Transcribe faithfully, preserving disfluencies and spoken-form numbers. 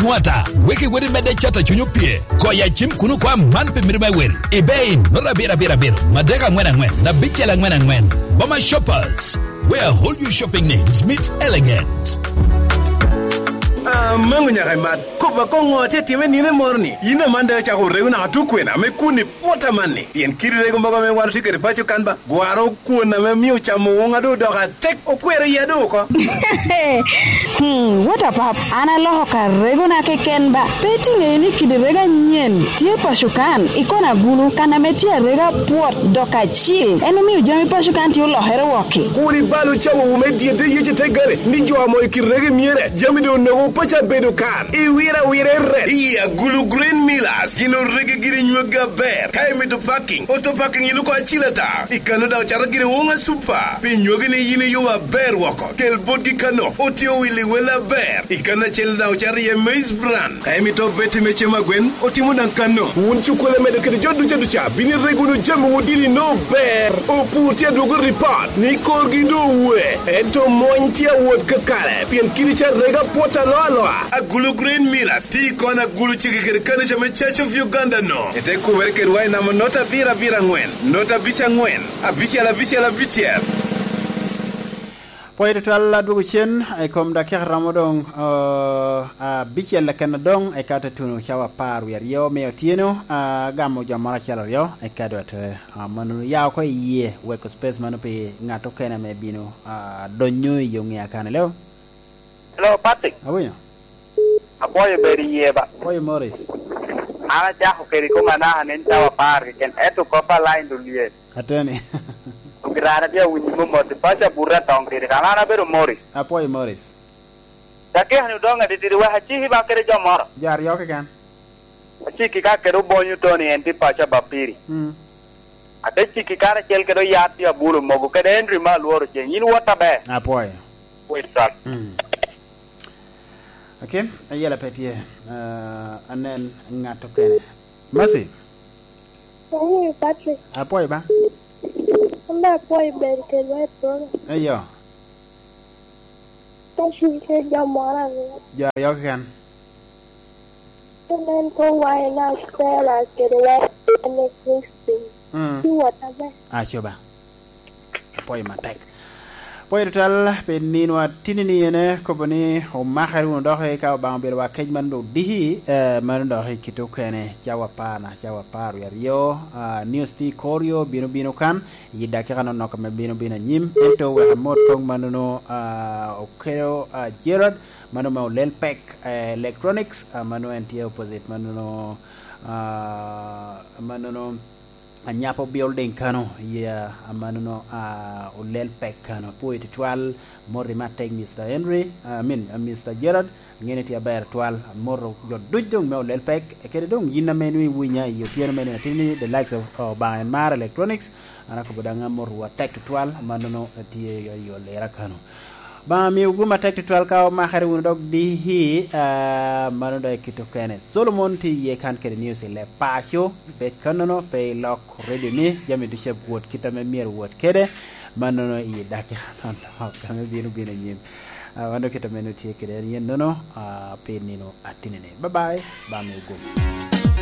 Nwata, wek iwot imedde cato cuny opye. Goyo acim kun okwa man pi miti me wil. Ebay, nota abiro abiro abiro, madek angwen angwen, abicel angwen angwen. Boma Shoppers, where all your shopping needs meet elegance. Amango nyaka imat. Kop akoŋo tye time nino moro ni? Yin aman daŋ icako rego naka tukwena me kun i pwota man ni. Pien kidi rego mogo ame wan otye kede paco kan ba, gwaro kwon ame mio camo woŋa doŋ odoko atek, okwero iya doŋ oko. Hmm, what a pap. An aloko ka regona keken ba. Pe itiŋeyo ni kidi rego anyen tye paco kan, i kona agulu, kan ame tye arega pwot dok acil. En omio jami paco kan tye olokere wok-ki. Kur ibal ocawo wu me dyedde yece te gare, ni jo amo i kidi rego myere, jami doŋ onogo paco abedo kan. Iwira wira i ret. Iya, gulu Green Millers, gin orege giri nywagi aber. Ka imito parking, auto parking yin oko acil ata. I kano daŋ ocato giri woŋa super. Pi nywagi ni yin iyubo aber woko. Kel botgi kano, otye owili wel aber. I kano acel daŋ ocato iye maize bran. Ka imito beti me cem agwen, otimo daŋ kano. Wun cukkole medo kede jo duca duca, bino irego wunu jami wun dini no ber. Opur tye adwogo ripot, ni korgi doŋ owe. Ento mony tye awot kakare, pien kidi ca rega pwot aloa aloa. Agulu Green Millers, ti kon agulu ciki kede kano ca me Church of Uganda no. Ete kumere kedwa i namba nota abiro abiro angwen, nota abic angwen, abicel abicel abicel. Pwoyo tutwal adwogo cen i kom dakika romo doŋ, uh, abicel keken adoŋ, eka te tuno cawa apar wie aryo me otyeno, uh, gamo jo moro acel aryo, eka dwe te, uh, mano ya oko i yie, weko space mano pi ŋat okene ame bino, uh, donyo i yo ŋea kan. Hello? Hello, Patrick. Awinyo. Apwoyo bedo iye ba. Apwoyo Morris. An acako kede koma naka nen cawa apar keken, ento kop a line doŋ lye. Ateni. Ogirara tye awinyo momot, paco abuto atong kede kan. An abedo Morris. Apwoyo Morris. Dakika ni odoŋ adididi, wek aciki ba kede jo moro. Jo aryo keken. Aciki ka kede Obonyo Tony, en tye paco Abapiri. Mm. Ate ciki karacel kede Oyat tye Abulo mogo, kede Henry me Alworo Ceng. Yin wot aber. Apwoyo. Wait, sir. Mm. Okay, ayela pe tye. Ah, anen ŋat okene. Mercy. Hey, Patrick. Apwoyo ba. An be apwoyo bedo kedwa i program. Eyo. Ka cwiny kede jo moro aryo. Jo aryo keken. Ka nen ko waina Stella kede waina Christine. Mm. Ci wot aber. Aco ba. Apwoyo matek. Apwoyo tutwal pi nino atinni ene, kobo ni omakere wunu dok ka Obaŋa obedo wa kec man doŋ odiki, eh, mano dok i kite okene, cawa apar na, cawa apar wie aryo, ah, news tye i kor yo, bino, bino kan, i dakika nonok ame bino, bino anyim. Ento wek amot kong mannono, ah, okelo, ah, Gerald, mano me Olel Pek, eh, Electronics, ah, mano en tye opposite mannono, ah, mannono Anyapo Building kano, iya, amannono, ah, Olel Pek kano. Apwoyo tutwal, moti matek Mister Henry, ah, I mean, ah, Mister Gerald, ŋene tye aber twal, amoto jo duc doŋ me Olel Pek, kede doŋ yin ame nwoŋo iwinya i otyeno me nino atinni, the likes of, oh, Obaŋa en mar Electronics, an akobo daŋ amotowu atek tutwal, amannono tye i, i Olera kano. Obaŋa miwu gum atek tutwal ka omakere wunu dok diki, ah, mano dok i kite okene. Solomon tye iye kan kede news i leb paco, bed kannono, pe ilok radio ni, jami ducu awot kit ame myero owot kede, mannono i dakika nonok ame bino bino anyim. Ah, mano kit ame nwoŋo tye kede en yen nono, ah, pi nino atinni. Bye bye, Obaŋa miwu gum.